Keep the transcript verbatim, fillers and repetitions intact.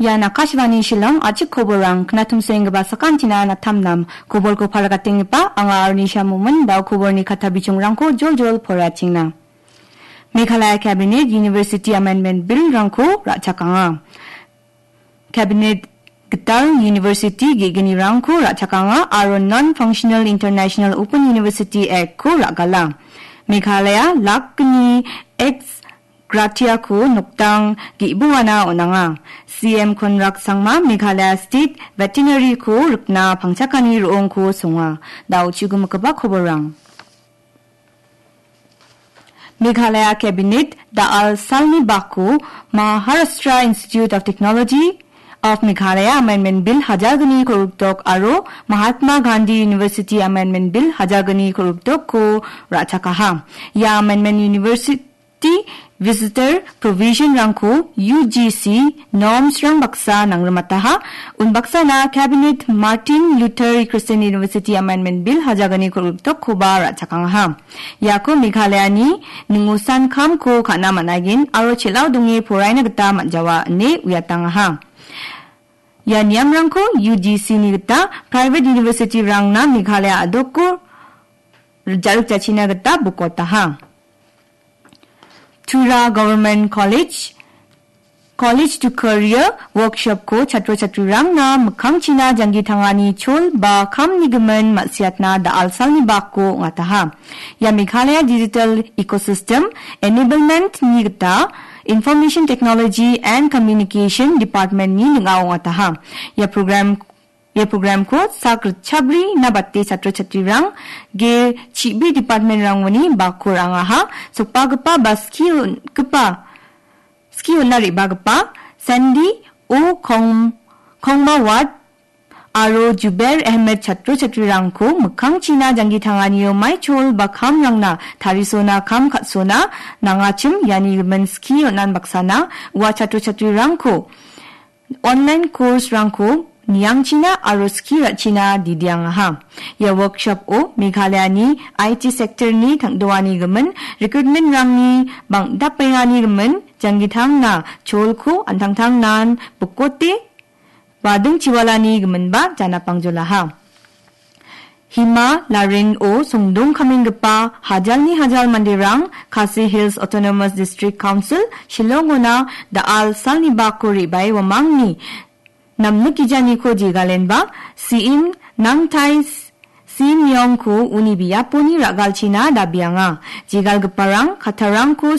Ian Akashvani Shillong, a·chik koborrang, knatumsoenggipa sakantina natamnam. Koborko palakatenggipa anga Arnisha Momin, dao koborni kata bichongrangko joljol poraiatengna. Meghalaya Cabinet University Amendment Bill-rangko ra·chakanga. Cabinet gital University ge·gnirangko ra·chakanga aro Non-Functional International Open University Act-ko ra·gala. Meghalaya lakni ex gratia-ko nokdang ge·bongana on·anga. C M Conrad Sangma Meghalaya State Veterinary-ko rikna pangchakani ro·ongko songa. Dao chugimikgipa koborrang. Meghalaya Cabinet da·al salni bako Maharashtra Institute of Technology of Meghalaya Amendment Bill hajalgni kolgrikdok aro Mahatma Gandhi University Amendment Bill hajalgni kolgrikdokko ra·chakaha. Ia amendment University Visitor Provision-rangko U G C norms-rang baksa nangrimataha, unbaksana Cabinet Martin Luther Christian University Amendment Bill hajalgni kolgrikdokkoba ra·chakangaha. Iako Meghalayani ningosan kamko ka·na man·aigen aro chel·ao donge poraina gita man·jawa ine uiatangaha. Ia niamrangko U G C-ni gita private university-rangna Meghalaya a·doko ja·rikjachina gita bokotaha. Tura Government College, College to Career Workshop-ko chatro chatrirangna mikkangchina janggi tangani chol ba kamni gimin ma·siatna da·al salni bako ong·ataha. Ia Meghalaya Digital Ecosystem Enablement-ni gita Information Technology and Communication Department-ni ning·ao ong·ataha. Ia program Ia programko sak ritchabrina bate chatro chatrirang ge chibri department-rangoni bako ra·angaha, sokbagipa ba skie on·gipa, skie on·na re·bagipa Sandy O Kong-, Kongmawat aro Jubair Ahmed chatro chatrirangko mikkangchina janggi tanganio maichol ba kamrangna tarisona kam ka·sona nangachim iani gimin skie on·an baksana ua chatro chatrirangko online course-rangko niangchina aro skie ra·china didiangaha. Ia workshop-o Meghalayani I T sector-ni tang·doani gimin, recruitment-rangni bang·dapengani gimin, janggi tangna cholko an·tangtangnan bokote bading chiwalani giminba janapangjolaha. Hima Larin-o songdong kamenggipa hajalni hajal manderang Khasi Hills Autonomous District Council Shillong-ona da·al salni bako re·bae uamangni namnikijaniko jegalenba, C M Nangtai Simyongko uni biaponi ra·galchina dabianga. Jegalgiparang kattarangko